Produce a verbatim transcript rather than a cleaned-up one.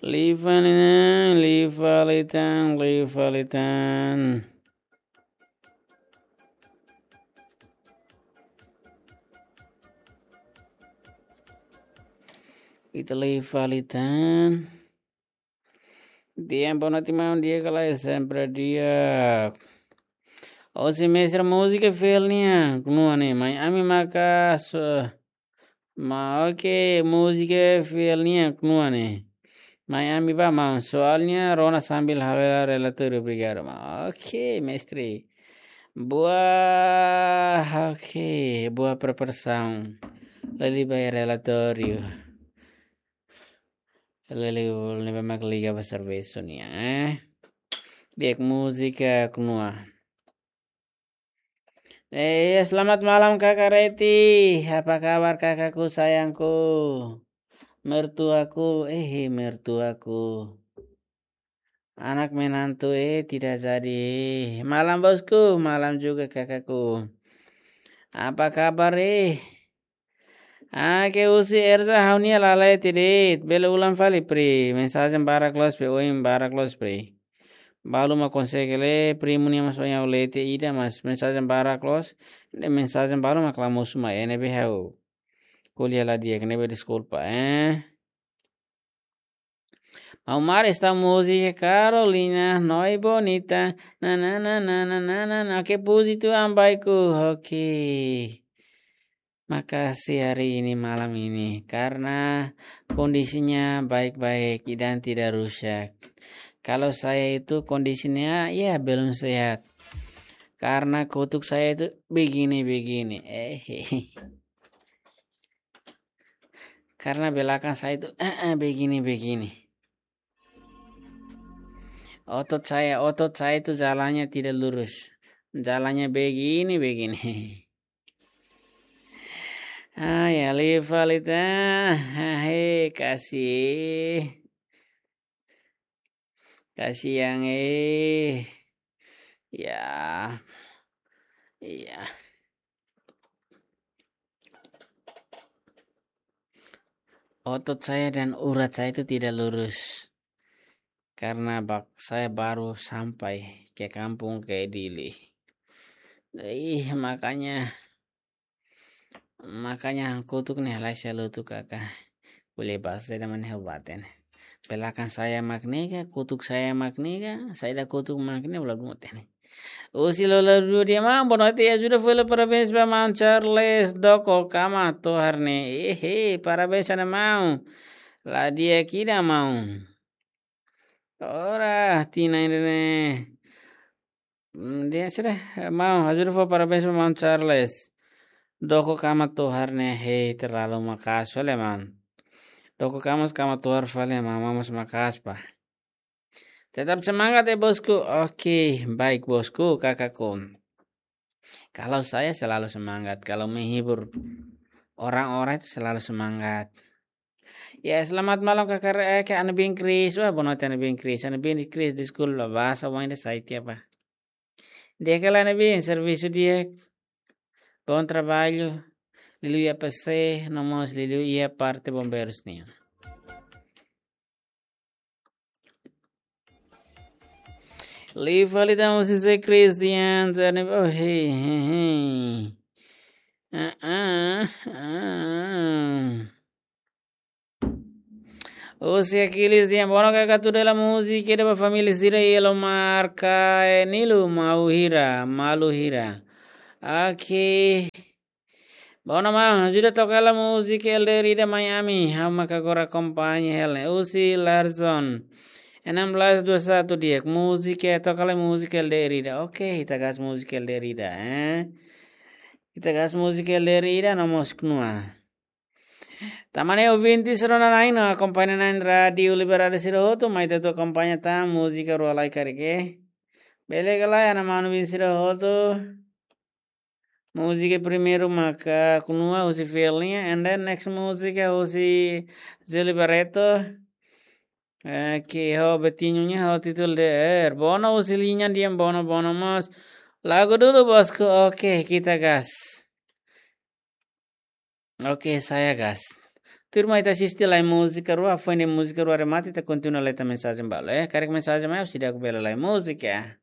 Liu fali tan, liu fali tan, liu fali tan. Ita liu fali tan. Di'ak, boa noite, maun. Di'ak ka lae? Sempre di'ak. Ó, se mestre, múzika fiel nian, knua ne'e, mai ami maka so-, ma, oke, múzika fiel nian, knua ne'e, mai ami bá, maun. Soalnya rona sambil halo relatóriu, obrigadu, maun. Oke, mestre. Boa, oke, boa preparasaun. Lele ba relatóriu. Lele, ne'ebé mak liga ba servisu nian, eh. Di'ak, múzika knua. Eh, selamat malam, Kakak Reti. Apa kabar, kakakku sayangku? Mertuaku, eh, mertuaku. Anak menantu, eh, tidak jadi. Malam, bosku, malam juga, kakakku. Apa kabar, eh? Ah, ke husi Erza, ha'u-nia la la'o tiha de'it. Bele ulang fali, pri. Mensajen barak loos, pri. Oin barak loos, pri. Balu mak konsege lee, primu nian mós oin ha'u lee tiha ida, mas mensajen barak loos. Ne'e mensajen balu mak la mosu mai, eh, ne'ebé ha'u ko'alia la di'ak, ne'ebé deskulpa, eh. Maun Mari, esta múzika Carolina, Noi Bonita. Na, na, na. Oke, puji Tuhan, baikku. Oke. Makasih hari ini, malam ini. Karena kondisinya baik-baik dan tidak rusak. Kalau saya itu kondisinya, ya, belum sehat. Karena kutuk saya itu begini-begini. Eh, karena belakang saya itu, eh, eh, begini-begini. Otot saya, otot saya itu jalannya tidak lurus. Jalannya begini-begini. Ah, ya, liu fali tan. Ah, hei, kasih. Kasiang, eh. Ya. Iya. Otot saya dan urat saya itu tidak lurus. Karena bak-, saya baru sampai ke kampung, ke Dili. Ih, makanya Makanya kutuk ne'e halai selu tu kaka. Boleh bahasa saya mana hebat ini. Belakang saya mak ne'e ka, kutuk saya mak ne'e ka, saida kutuk mak ne'e, bla bla tene. Husi Lolodudua, maun, boa noite, ajuda fali, parabéns ba maun Charles Doko Kama Tohar ne'e. Ehe, parabéns ona maun. La di'ak ida maun. Ora, tinan ida-ne'e. Hmm, di'ak sira, maun, ajuda fó parabéns ba maun Charles. Doko Kama Tohar ne'e, hei, terlalu maka'as fali, maun. Doko Kama, Kama Tohar fali, maun, maun mós maka'as, pa. Tetap semangat ya, bosku. Oke, baik, bosku, kakakku. Kalau saya selalu semangat, kalau menghibur orang-orang itu selalu semangat. Ya, selamat malam, Kakak Re-, eh, Kak Anabin Kris. Wah, boa noite, Anabin Kris. Anabin Kris, deskulpa, bahasa wain de sai tiha, pa. Di'ak ka lae, Anabin, servisu di'ak. Bom trabalho. Liuliu iha P C, no mós liuliu iha parte bombeirus nian. Liu fali tan husi Zé Cristian, Zé Neves, oh, hei, hei, hei. Ah, ah, ah. Husi Aquiles dehan, bono kaka tuda hela múzika ida ba família sira iha Lomar, Kae Nilu, mau hira, malu hira. Oke. Bono maun, ajuda toka hela múzika L D R ida mai ami, ha'u maka agora akompaña hela. Husi Larson. Enam belas dua satu, di'ak, múzika, toka hela múzika L D R ida. Oke, ita gas múzika L D R ida, eh. Ita gas múzika L D R ida, no mós knua. Tan ne'e ouvinte sira-nia na'in no akompaña na'in Rádiu Liberdade sira hotu, mai ita atu akompaña tan múzika rua lai karik. Bele ka lae, ana manu bin sira hotu. Múzika primeiru maka knua husi Fiel nian, and then next múzika husi Zé Liberato. Eh, ke ho Betinho nian, ho títulu de er. Bono husi Liña dehan bono, bono mós. Lagu dulu, bosku. Oke, kita gas. Oke, saya gas. Tuirmai ita asiste lai múzika rua, foin múzika rua remata, ita kontinua leta mensajen balu, eh. Karik mensajen mai, husi di'ak bele lai múzika.